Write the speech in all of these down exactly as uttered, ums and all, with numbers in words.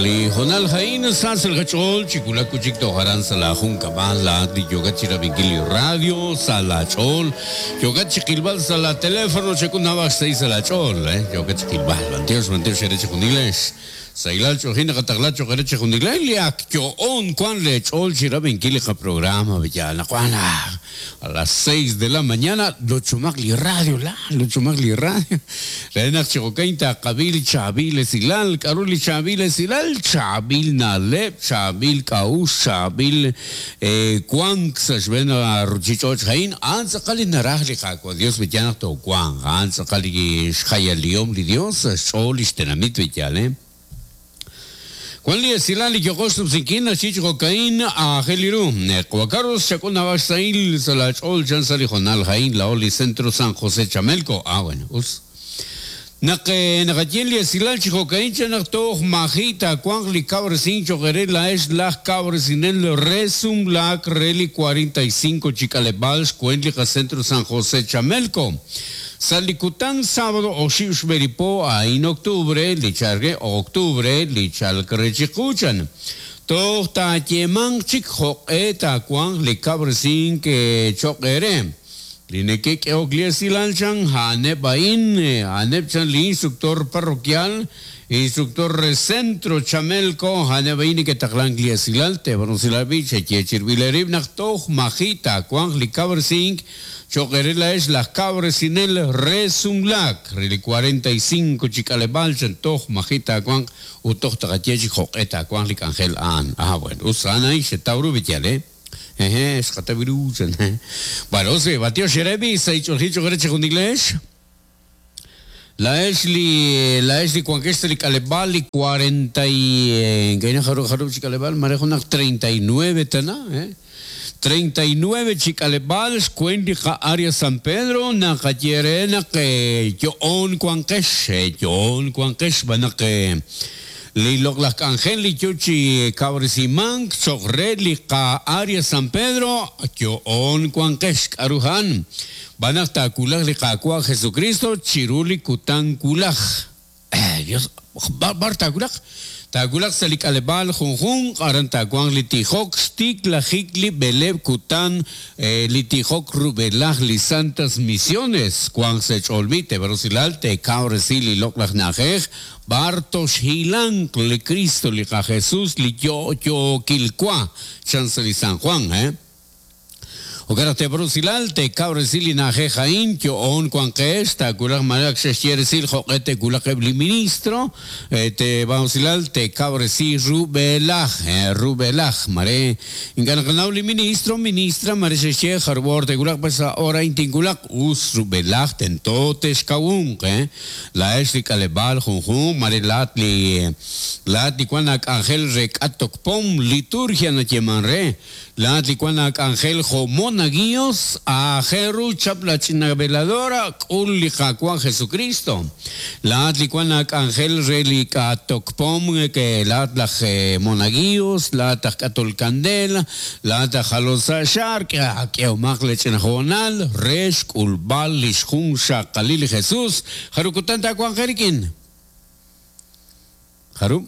Sali honal hain sa sel gachol chikula kuchik toharan sala junkabal la di yoga chirabinkili radio sala chol yoga chikilbal sala teléfono chekunaba seis sala chol eh yoga chikilbal bantios bantios ereche juniles sailal chojina kataglacho ereche juniles liak yo on cuan le chol chirabinkili ka programa villana cuana a las seis de la mañana lo chumagli radio la lo chumagli radio renak chicocainta kabil chabil silal karuli chabil silal chabil nalep chabil kaus chabil kuang sashvena ruchichoch hain antzakali narajli kakwa Dios villana to kuang antzakali shayaliom li Dios cholish tenamit villale Juan Lee Silali Yokosup Sinkina Chicho Cocaína a Geliru Cuacarros Chacona Baxail Salach Ol Chansali Jonal Jain La Oli Centro San José Chamelco. Ah, bueno, us. Nake Nakatieli Silal Chicocaín Chanacto Majita Cuangli Cabresin Choquerela es la Cabresinel Resum la Reli cuarenta y cinco Chicalebals Cuenlica Centro San José Chamelco. Salicután sábado Oshiush Beripo en octubre lichargue octubre lichalcrechicuchan. Tohta yemang chik eta cuang licabresin que choquere. Lineke que ogliesilanchan hanebain hanepchan li instructor parroquial instructor centro Chamelco hanebain que taclan gliesilalte bronzilabiche chechirbilerib nachtoh majita cuang licabresin Choquerela es las cabresinel resumlac, reli cuarenta y cinco chicalebalchan, toj, majita, cuan, utoh, tagachechi, joqueta, cuan, licangel, an. Ah, bueno, usana y se tauru vitiale. Eje, escataviruchan. Bueno, se batió Sherebi, se hizo el hicho, greche con inglés. La Esli, la Esli, cuanquestri, calebal, cuarenta y, gaina, jaru, jaru, chicalebal, marejo, treinta y nueve, tana, eh. treinta y nueve chicalebal, cuendica área San Pedro, nakayerena que yoon cuanquesh, yoon cuanquesh, banake lilok las angeli chuchi cabrisimank, chogrelica área San Pedro, yoon cuanquesh, arujan, banakta kulaj liqakua Jesucristo, chiruli kutan kulaj. Eh, Dios, barta kulaj. Tagulak salik alebal junjun arantaguan litijok stik la jikli beleb kutan litijok rubelaj li santas misiones cuan se cholmite berosilalte cabresil y loklaj najej bartos hilank le Cristo li ka Jesús li yo yo kilkua chance li San Juan eh Ogarate brusilalte cabresil y najeja intio on cuan que esta kulak marak sheshieresil joquete kulak ebli ministro te bausilalte cabresi rubelaj rubelaj mare inganaknauli ministro ministra mare sheshie jarbor te kulak pesa ora intinkulak us rubelaj tentotes kaun eh la esli kalebal junjun mare latli latli cuanak angel rekatok pom liturgia na yemanre latli cuanak angel jomon Naguios a Jeru chapla china veladora ulija Juan Jesucristo la atlicuana ángel relica tocpom que la atlaje monaguios la atacatol candela la atajalosa shark que omagle chenjonal res culbal lishjun shakalil Jesús jarukutanta Juan Jeriquín Jaru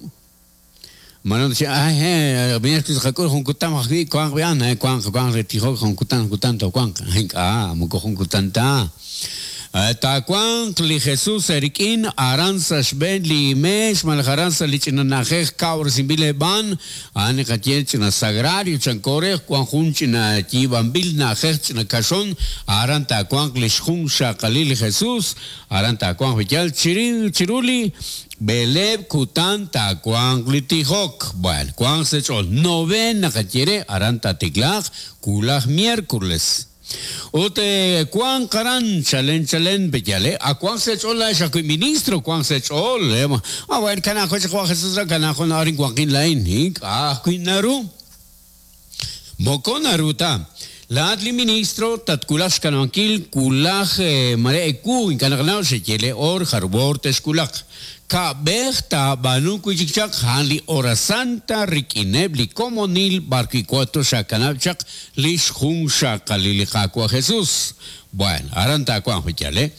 Mano decía, ay, eh, vienes que se con cutan, cuan, vean, cuan, cuan, retijo, con cutan, cutan, cuan, ah, muco, cutanta. Tacuan, li Jesús, Eriquín, Aranza, Shben, li Mesh, Maljaranza, Lichinanajej, Cabr, Simbile, Ban, Anecatiechina, Sagrario, Chancore, Juan Junchina, Chibambil, Najech, Cachón, Aranta, Cuan, Lishjun, Shakalil, Jesús, Aranta, Cuan, Villal, Chiril, Chiruli, Beleb, Kutan, Tacuan, Litijok. Bueno, Cuan se echó novena, Catiere, Aranta, Tiglaj, Kulaj, miércoles. Ute Juan Karan chalen chalen bellale a Juan se echó la esa ministro Juan se echó a ver canajo Juan Jesús canajo no arin Juan lain ah quinaru moconaruta la adli ministro tatkulaj kanankil kulaj mare ku inkanagnaw se yele or harbor teskulak Kab'ej taab'aanu wi' chik chaq a'an li hora santa rik'ineb' li komonil b'arwi' wank xakanab' chaq li xjunxaqalil li Qaawa' Jesús. Bueno, aran taawanq b'iyal, eh?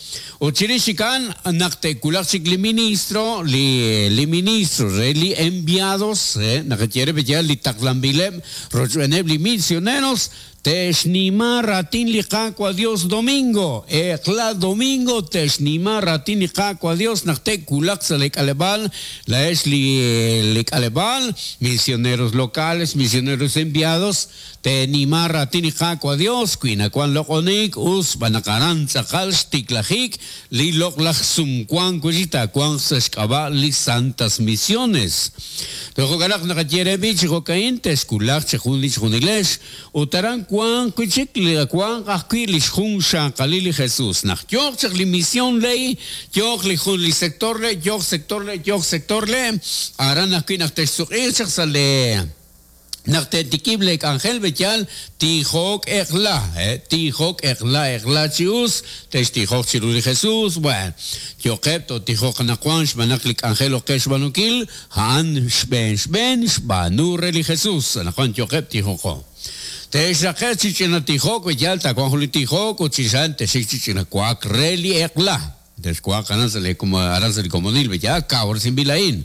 Ut chirix chik a'an naq te'wulaq chik li ministro, li, li ministro re li enviados, eh? Naq ye re b'iyal li taqlanb'ileb' rochb'eeneb' li misioneros, te'xnima raatin li Qaawa' Dios domingo. Eq'la domingo te'xnima raatin li Qaawa' Dios naq te'wulaq sa' li k'aleb'aal, laex li, li k'aleb'aal, misioneros locales, misioneros enviados, te'nima raatin li Qaawa' Dios, wi nawan loq'onik us b'anaq aran tz'aqal xtiklajik li loq'laj sumwank wi' taawanq sa' xk'ab'a' li Santas Misiones. Tojo'kanaq naqaye re b'i chi jo'ka'in te'xwulaq chi jun li chjunilex ut aran wanq wi' chik li wanq ajwi' li xjunxaqalil li Jesús. Naq yooq chaq li misión ley, yooq li jun li sector le, yooq sector le, yooq sector le, aran ajwi' naq te'xsuq'iiq chaq sa' le naq te'tikib' le k'anjel b'eyal tijok eq'la, eh, tijok eq'la eq'la chi us, te'xtijok chiru li Jesús, bueno, yoqeb' to'tijoq anaqwan xb'aan li k'anjel oqe xb'aanunkil, a'an xb'een xb'een xb'aanu re li Jesús, anaqwan yoqeb' tijoqo. Te'xraqe chi ch'ina tijok b'eyal taawanq jun li tijok ut chixan te'xik chi ch'ina wak re li eq'la. Te'xwaq aran sa' li aran sa' li komonil b'eyal kawresinb'il a'in.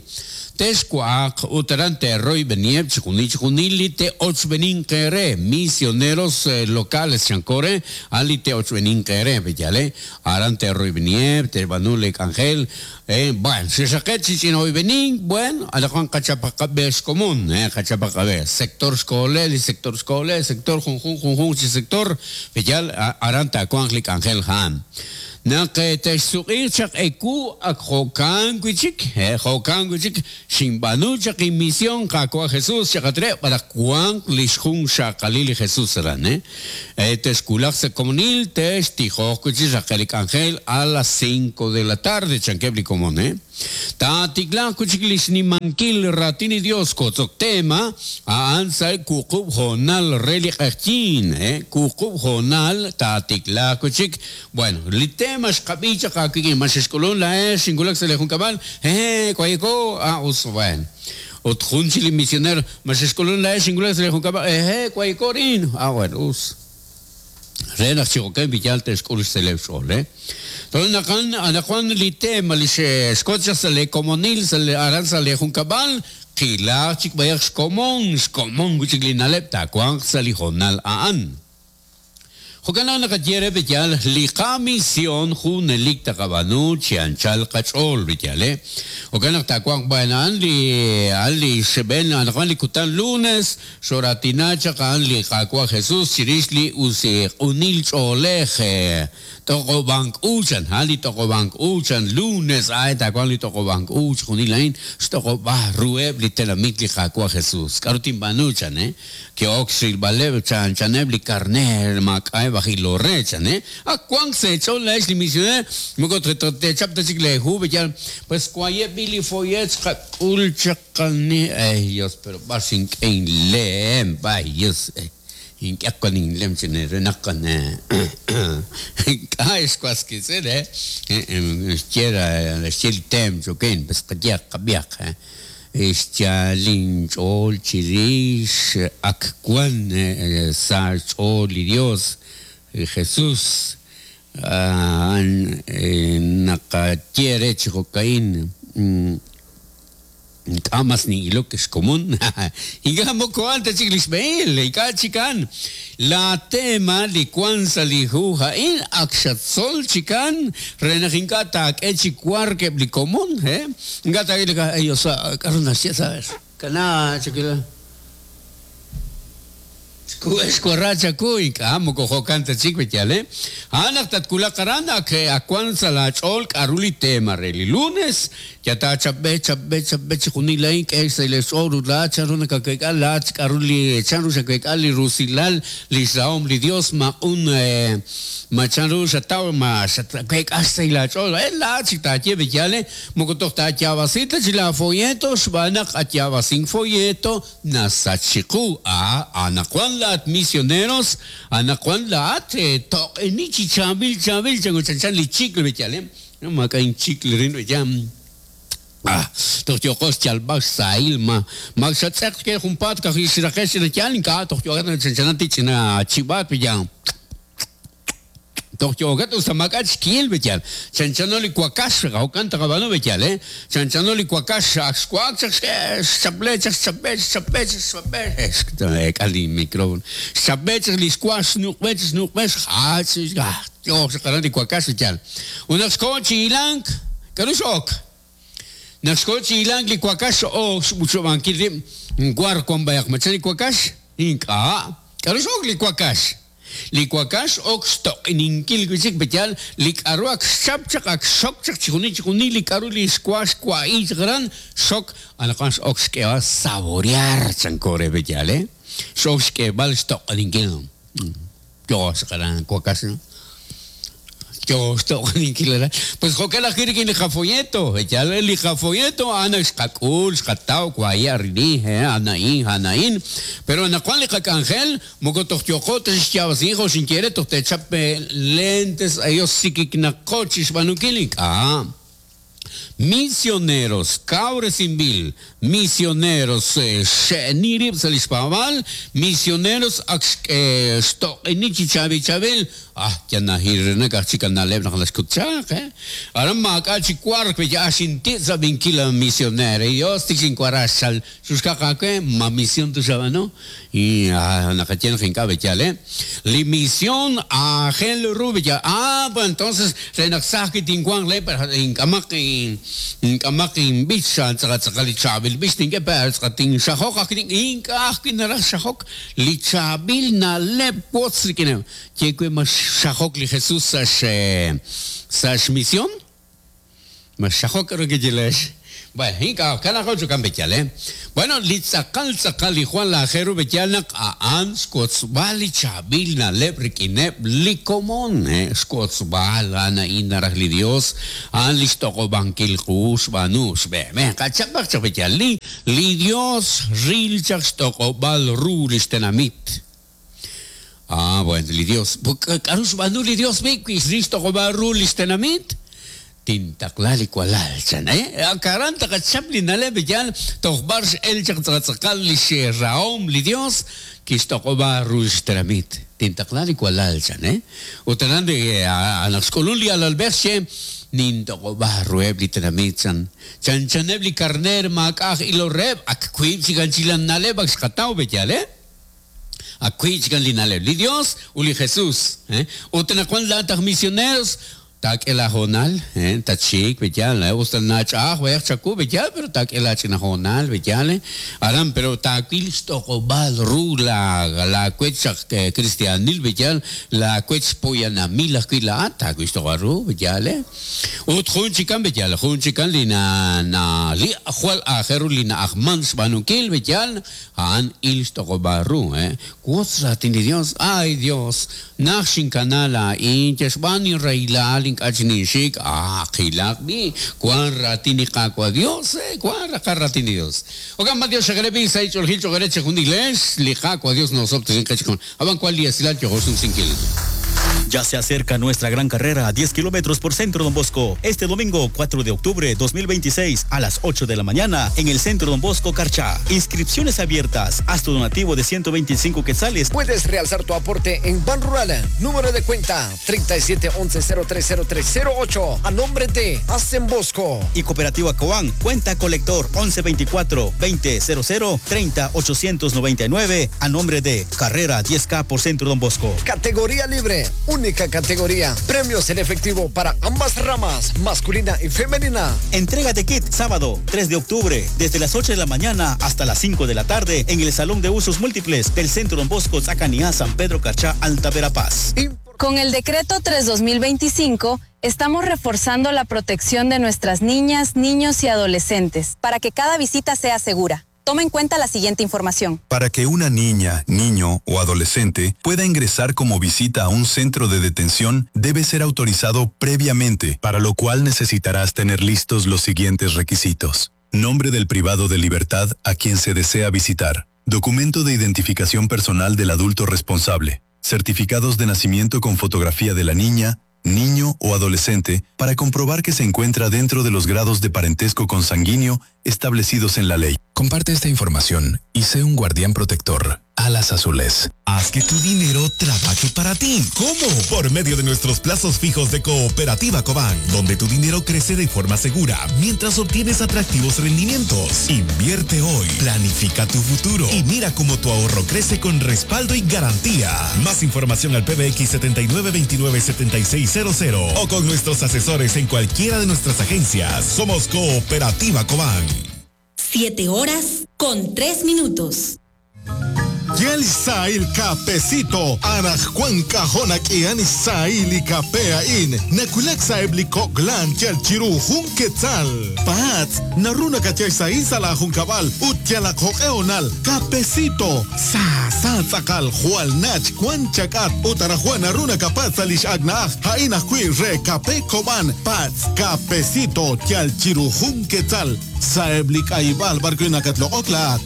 Te'xwaq ut aran te'royb'enieb' chijunil chijunil li te'ochb'enin qe misioneros eh, locales chankore a'an li te'ochb'enin qe b'eyal, eh? Aran te'royb'enieb' te'b'aanu li k'anjel, eh, bueno, xexaqe chi ch'ina oyb'enin, bueno, anaqwan qachapaqab'e xkomon, eh, qachapaqab'e sector xkole, li sector xkole, sector junjun junjun chi sector b'eyal aran taawanq li k'anjel ja'an. Naq te'xsuq'iiq chaq eku ak jo'kan wi' chik, eh, jo'kan wi' chik xinb'aanu chaq inmisión Qaawa' Jesús chaqatre b'araq wanq li xjunxaqalil li Jesús aran, eh? Eh, te'xwulaq sa' komonil, te'xtijoq wi' chik raqe li k'anjel a las cinco de la tarde chankeb' li komon, eh? Taatiklaq wi' chik li xnimankil raatin li Dios kotzok tema a'an sa' wuqub' hoonal re li q'eqyiin, eh? Wuqub' hoonal taatiklaq wi' chik. Bueno, li tema xqab'i chaq aawik'in, ma xexk'ulun laex xinwulak sa' li junkab'al, eh, kwayeko, ah, us, bueno. Ut jun chi li misionero, ma xexk'ulun laex xinwulak sa' li junkab'al, eh, kwayeko rin, ah, bueno, us. Re naq chi jo'kan b'iyal te'xk'ul xseleb' xch'ool, eh? Entonces, naqan anaqwan li tema li xkot chaq sa' li komonil, sa' li aran sa' li junkab'al, qilaq chik b'ayaq xkomon, xkomon wi' chik li na'leb' taawanq sa' li hoonal a'an. Jo'kan naq naqaye re b'eyal li qamisión junelik taqab'aanu chi anchal qach'ool b'eyal, eh? Jo'kan naq taawanq b'an a'an li a'an li xb'een anaqwan li kutan lunes xoratina chaq a'an li Qaawa' Jesús chirix li usiq'unil ch'oolej, eh, toq'ob'ank uchan, a'an li toq'ob'ank uchan lunes, ay taawanq li toq'ob'ank uch junil a'in xtoq'ob'a ruheb' li tenamit li Qaawa' Jesús. K'aru tinb'aanu chan, eh? Ke'ok xrilb'aleb' chan chaneb' li karner maak'a'eb' aj ilor re chan, eh? Ak wank sa' ch'ool laex li misioner, moko te'chap ta chik le hu b'eyal, pues kwayeb' b'i li follet xqak'ul chaq qani, ay Dios, pero b'ar xink'e inlem, ay Dios, eh. Ink'aq kan inlem chan re naq kan k'a xwaskisel, eh? Xye xye li tem choken, pues qayaq qab'yaq, eh? Xyalin ch'ool chirix ak wan sa' ch'ool li Dios Jesús a'an naqaye re chi jo'ka'in ink'a' mas nin'ilok xkomon ink'a' moko a'an ta chik li xb'ehil ink'a' chikan la tema li wan sa' li hu a'in ak xatzol chikan re naq ink'a' taak'e chi wark eb' li komon, eh? Ink'a' taak'e li ay osa k'aru naxye sa' kana chakila xwarra chaku ink'a' moko jo'kan ta chik b'eyal, eh? A'an naq tatwulaq aran ak ak wan sa' la ch'ool k'aru li tema re li lunes ya taachab'e chab'e chab'e chi junil a'in k'e sa' li ch'ool ut laat chanru nakakek'al laat k'aru li chanru xakek'al li rusilal li xrahom li Dios maq'un eh, ma chanru xataw ma xakek'al sa' la ch'ool eh laat chik taaye b'eyal, eh? Moko toj taayaab'asita chi la folleto xb'aan naq atyaab'asin folleto nasach chiqu ah anaqwan laat misioneros anaqwan laat eh, toq'eni chi chaab'il chaab'il changu chanchan li chicle b'eyal, eh? No maak'a' inchicle rin b'eyal. Ah, toj yooqo xyalb'al xsahil ma ma xatz'eq ke junpaat kaj xraqe xch'ina yal ink'a' toj yooqat chanchanat ch'ina chib'aat b'iyal toj yooqat usta maak'a' xkiil b'iyal chanchano li wakax jo'kan taqab'aanu b'iyal eh chanchano li wakax ak xwak chaq xchaple chaq xchape xchape xchape k'al li micrófono xchape chaq li xwa xnuq'be xnuq'be xjach yooj xaqaran li wakax b'iyal unaq xko chi'ilank k'aru xok naq xko chi'ilank li wakax ok xb'uchob'ankil rib' war wan b'ayaq machan li wakax ink'a' k'aru xok li wakax li wakax ok xtoq'ininkil wi'chik b'iyal li k'aru ak xchap chaq ak xok chaq chijunil chijunil li k'aru li xwa xwa'i chaq aran xok anaqwan x'ok xk'eb'al saborear chanko re b'iyal eh x'ok xk'eb'al xtoq'ininkil yooj xaqaran wakax pues jo'kan ajwi' rik'in li qafolleto yal li qafolleto a'an xqak'ul xqataw waye arrini ana'in ana'in pero anaqwan li qak'anjel moko toj yooqo tixyaab'asi jo xinkere toj techap lentes ellos sikiknaqo chixb'anunkil ink'a' misioneros kawresinb'il misioneros xe'nirib' sa' li xpaab'al misioneros ak xtoq'ini chi chaab'il ah yanahirnak aj chik naleb' naq naxkutchaq eh aran maak'a' chi wark ya xinti' sab'inkil a misionero Dios tik xinkuarax xuxkaq ma misión tu xab'ano y naqatien ink'a' b'iyal eh li misión aajel ru b'iyal ah pues entonces renaq saj tinkuan le pero ink'amaq ink'amaq inb'ich tz'aqatz'aqal li chaab'il b'ich tink'e pe tz'aqatin xajok aj ink'a' ajwi' naraj xajok li chaab'il na'leb' wotz rik'in ye ma xajok li Jesús sa' sa' xmisión ma xajok k'aru kichilex bueno ink'a' kanaqo chukan b'iyal eh bueno li tz'aqal tz'aqal li Juan Lajeru b'iyal naq a'an xwotzb'al li chaab'il na'leb' rik'ineb' li komon eh xwotzb'al a'an naraj li Dios a'an li xtoq'ob'ankil qu xb'aanu xb'e qachapaq chaq b'iyal li li Dios ril chaq xtoq'ob'al ru li xtenamit. Ah, bueno, li Dios. K'aru xb'aanu li Dios bi wi xtoq'ob'al ru li xtenamit tintaqla li walal chan eh karan taqachap li na'leb' b'iyal toj b'ar x'el chaq tz'aqatz'aqal li xraom li Dios kixtoq'ob'a ru xtenamit tintaqla li walal chan eh ut aran anaq xk'ulun li alalb'ej xe nintoq'ob'a ruheb' li tenamit chan chanchaneb' li karner maak'aj iloreb' ak wiib' chikan chilan na'leb' ak xqataw b'iyal eh ak wiib' chikan li na'leb' li Dios u li Jesús eh ut naqwan laataq misioneros tak'e la jonal eh tachik b'iyal usta nach'aj wayaq chaku b'iyal pero tak'e la ch'ina jonal b'iyal aran pero takwil xtoq'ob'al ru la la kwech chaq cristianil b'iyal la kwech poyanamil ajwi' la'at takwil xtoq'ob'al ru b'iyal eh ut jun chikan b'iyal jun chikan li na na li jwal ajeru li na ajman xb'anunkil b'iyal a'an il xtoq'ob'al ru eh wotz raatin li Dios ay Dios naj xinkanal a'in chexb'aan inraylal ink'a' chininxik ah qilaq bi kwan raatin li Qaawa' Dios eh kwan raqa raatin li Dios okan ma Dios xaqrebi sa' ich'oljil cho'qere chejunilex li Qaawa' Dios nosob tinqechkon aban kwal li esilal yojosun sinkil. Ya se acerca nuestra gran carrera a diez kilómetros por Centro Don Bosco. Este domingo cuatro de octubre dos mil veintiséis a las ocho de la mañana en el Centro Don Bosco Carchá. Inscripciones abiertas. Haz tu donativo de ciento veinticinco quetzales. Puedes realzar tu aporte en Banrural. Número de cuenta treinta y siete once cero tres cero tres cero ocho a nombre de Hacen Bosco. Y Cooperativa Coan, cuenta colector once veinticuatro veinte cero cero treinta ochocientos noventa y nueve a nombre de Carrera diez K por Centro Don Bosco. Categoría libre. Única categoría. Premios en efectivo para ambas ramas, masculina y femenina. Entrega de kit sábado tres de octubre, desde las ocho de la mañana hasta las cinco de la tarde en el Salón de Usos Múltiples del Centro Don Bosco, Zacaniá, San Pedro Carchá, Alta Verapaz. Con el Decreto tres dos mil veinticinco, estamos reforzando la protección de nuestras niñas, niños y adolescentes para que cada visita sea segura. Toma en cuenta la siguiente información. Para que una niña, niño o adolescente pueda ingresar como visita a un centro de detención, debe ser autorizado previamente, para lo cual necesitarás tener listos los siguientes requisitos. Nombre del privado de libertad a quien se desea visitar. Documento de identificación personal del adulto responsable. Certificados de nacimiento con fotografía de la niña, niño o adolescente para comprobar que se encuentra dentro de los grados de parentesco consanguíneo establecidos en la ley. Comparte esta información y sé un guardián protector. Alas Azules. Haz que tu dinero trabaje para ti. ¿Cómo? Por medio de nuestros plazos fijos de Cooperativa Cobán, donde tu dinero crece de forma segura mientras obtienes atractivos rendimientos. Invierte hoy, planifica tu futuro y mira cómo tu ahorro crece con respaldo y garantía. Más información al P B X setenta y nueve veintinueve setenta y seis cero cero o con nuestros asesores en cualquiera de nuestras agencias. Somos Cooperativa Cobán. Siete horas con tres minutos. Yel Sail Capecito, Araj Juan Cajona Kian Sail y Capea In, Nakulak Saebli Koglan, Yel Chiru Jun Quetzal, Pats, Naruna Cachay Sail Sala Juncabal, Utiala Joeonal, Capecito, Sa Sa Tzakal, Jual Nach, Juan Chacat, Utara Juan Aruna Capaz Alish Agnaj, Jaina Hui Re Cape Coban, Pats, Capecito, Yel Chiru Jun Quetzal, Saebli Kaibal, Barquina Catlo Oclat.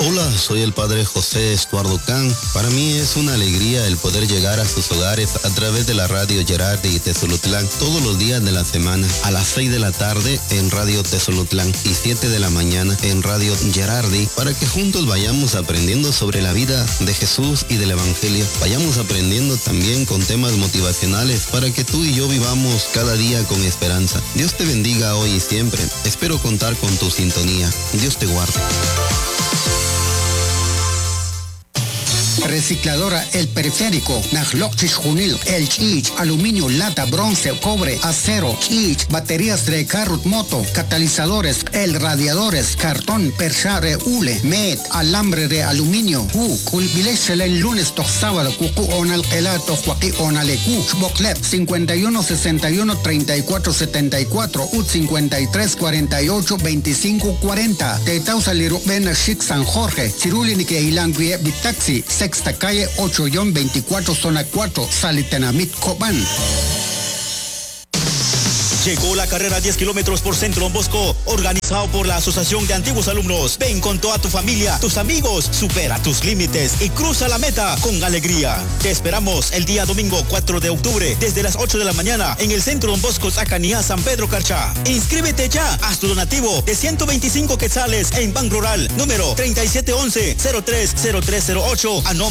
Hola, soy el padre José Estuardo Can. Para mí es una alegría el poder llegar a sus hogares a través de la radio Gerardi y Tezulutlán todos los días de la semana a las seis de la tarde en Radio Tezulutlán y siete de la mañana en Radio Gerardi para que juntos vayamos aprendiendo sobre la vida de Jesús y del Evangelio. Vayamos aprendiendo también con temas motivacionales para que tú y yo vivamos cada día con esperanza. Dios te bendiga hoy y siempre. Espero contar con tu sintonía. Dios te guarde. Recicladora El Periférico, Najlokchich Junil, El Chich, aluminio, lata, bronce, cobre, acero, chich, baterías de carro, moto, catalizadores, el radiadores, cartón, perchare, hule, met, alambre de aluminio, u, culbilechel el lunes, to sábado, cucu, onal, elato, joaquí, onalecu, xboclep, cincuenta y uno, sesenta y uno, treinta y cuatro, setenta y cuatro, ut, cincuenta y tres, cuarenta y ocho, veinticinco, cuarenta, Tetausa, Lirubena, Chic, San Jorge, Cirulini, que Ilanguie, Bitaxi, Sexta calle ocho guion veinticuatro, zona cuatro, Salitenamit, Cobán. Llegó la carrera diez kilómetros por Centro Don Bosco, organizado por la Asociación de Antiguos Alumnos. Ven con toda tu familia, tus amigos, supera tus límites y cruza la meta con alegría. Te esperamos el día domingo cuatro de octubre desde las ocho de la mañana en el Centro Don Bosco Zacanía, San Pedro Carchá. Inscríbete ya, haz tu donativo de ciento veinticinco quetzales en Banco Rural, número treinta y siete once, cero tres cero tres cero ocho, a nombre